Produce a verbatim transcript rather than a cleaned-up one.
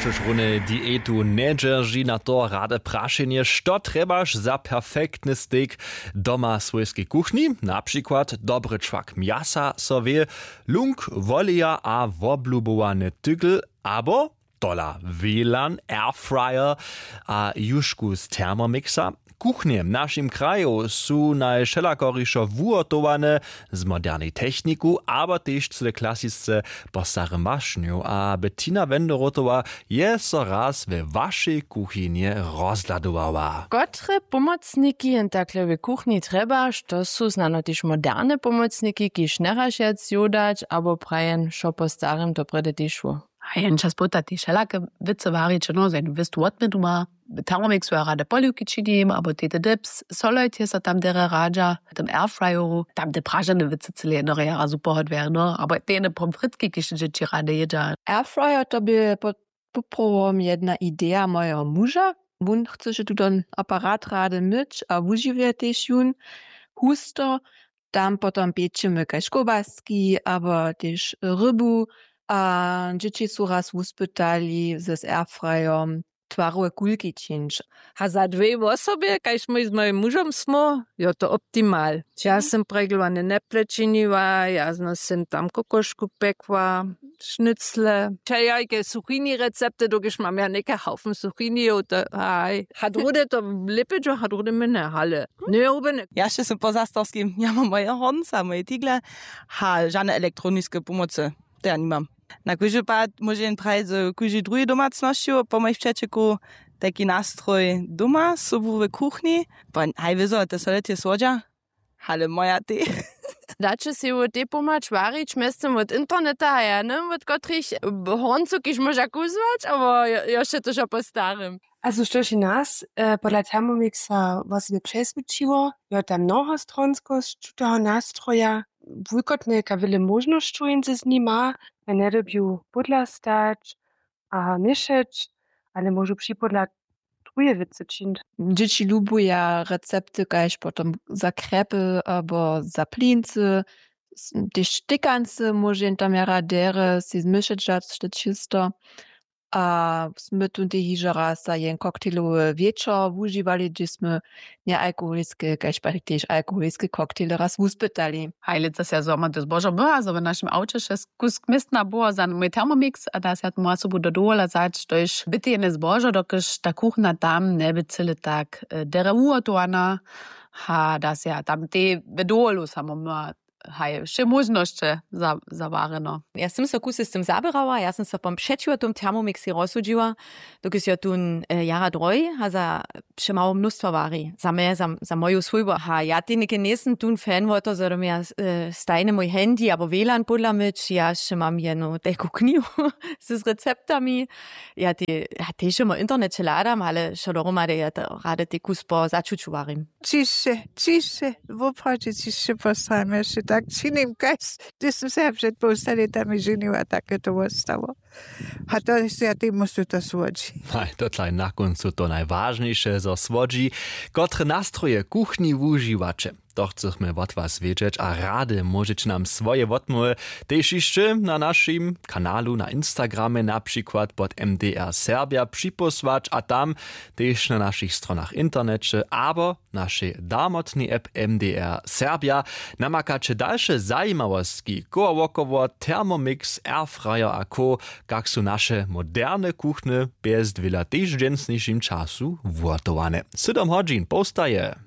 Runje diětu njedźerži na to rady prašenje, što trjebaš za perfektny stejk doma w swójskej kuchni? Na přikład dobry čwak mjasa so wě, lunk woleja a woblubowane tygl, abo tola, wlan, airfryer a jušku z thermomixa. Kuchnje w našim kraju su najwšelakorišo wuhotowane z modernej techniku, abo tež cyle klasisce po starym mašnju. A Bettina Wenderotowa je so raz we wašej kuchinje rozhladowała. Kotre pomocniki jen takle w kuchni trjebaš? To su snano tež moderne pomocniki, kiž njerašjac jodać, abo prajen, wšo po starym, to prjedy tež wo. A jen čas połta tež wšelake wěcy warić, no, za jednu wěstu wotměnu ma. W thermomixu ja rady poliwki činim, abo tete dips, solojt je so tam derje radźa, w tym airfryeru, tam te pražene wěcy cyle jedno rjara su pohodwjerno, abo te jene pomfritki, kiž dźěći rady jědźa. Airfryer to bě po-, poprawom jedna ideja mojeho muža. Wón chcyše tuton aparat rady myć a wužiwje tež jón husto. Tam potom pěčimy kaž kołbaski abo tež rybu. A dźěći su raz wuspytali z airfryom twarowe kulki čińć. A za dwě wosobje, kaž mój z mojim mužom smo, jo, to optimal. Ja sym preglowane neple činiła, ja zno sym tam kokošku pekła, šnycle, wšelajke suchini recepty, dokelž mam ja něke haufen suchinijow, to haj. Hat rude to lěpidźo, hat rude mine hale. Njerubene. Ja še sym po zastorskim, ja mam moje hornca, moje tigle, ha žane elektroniske pomocy, to ja nimam. Na kóždy pad móže jen prajić, zo kóždy druhi domacnosći po mojich přećeku tajki nastroj doma sobu w kuchni, bo haj wězo te solety słodźa, ale moja te. Daće sej wot tej pomhać warić mjeztym wot interneta a ja nym wot kotrych horncow kiž móža kuzłać abo jo-, jošće to wšo po starym. A zo štož je nas, e, podla thermomixa wosebje přeswědčiło, jo, ta mnohostronskosć tutoho nastroja, wulkotnjejka wjele móžnosćow jindźe z nima, a njedyrbju pódla stać a měšeć, ale móžu připodla druhe wěcy čińć. Dźěći lubuja recepty kaž potom za krjepy abo za plincy, s-, tež štykancy móže jim tam jara derje sej zmyšeć dać te čisto. A smy tón tež hižo raz za jen koktejlowy wječor wužiwali, hdźež smy njealkoholiske kaž pak tež alkoholiske koktejle raz wuspytali. Haj, lětsa sej ja zhromadne zbožo myła, zo w našim awče šest kusk městna było za mój thermomix a da sej ja tomu sobu do dowola wzać, to je bytejne zbožo, dokelž ta kuchna tam njeby cyle tak, e, derje wuhotowana. Ha, da sej ja tam tej w dowolu samo myła. Haj, wše móžnosće za-, zawarjeno. Ja sym so kusy z tym zaběrała, ja sym so pom-, přećiwo tym thermomixej rozsudźiła, dokelž jo tón, e, jara drohi a za přemało mnóstwo wari za mje, za, za moju swójbu. Ha, ja tej něke njejsym tón fan wo to, zo do mje, e, stajny mój handy abo wlan podla myć, ja wše mam jenu tajku knihu z receptami. Ja tej, ja tež mój interneće hladam, ale wšo dohromady ja to rady tej kus po začuću warim. Ćišće, ćišće, woprawdźe ćišće postajam, ja wšo tak činim, kaž hdyž sym se ja před połsta lětami ženiła, tak je to wostało. A to je, ja tej móžu to słodźi. Haj, to tlaj na kóncu to najwažniše, zo słodźi. Kotre nastroje kuchni wužiwaće? To chcychmy wot was wědźeć a rady móžeće nam swoje wotmołwy tež hišće na našim kanalu na Instagramje, na přikład pod M D R Serbja, připósłać a tam tež na našich stronach w interneće abo našej darmotnej app M D R Serbja. Namakaće dalše zajimawostki, koło wokoło, Thermomix, Airfryer a co, kak su naše moderne kuchny bjez dwěla tež w dźensnišim času wuhotowane. Sydom hodźin połstaje.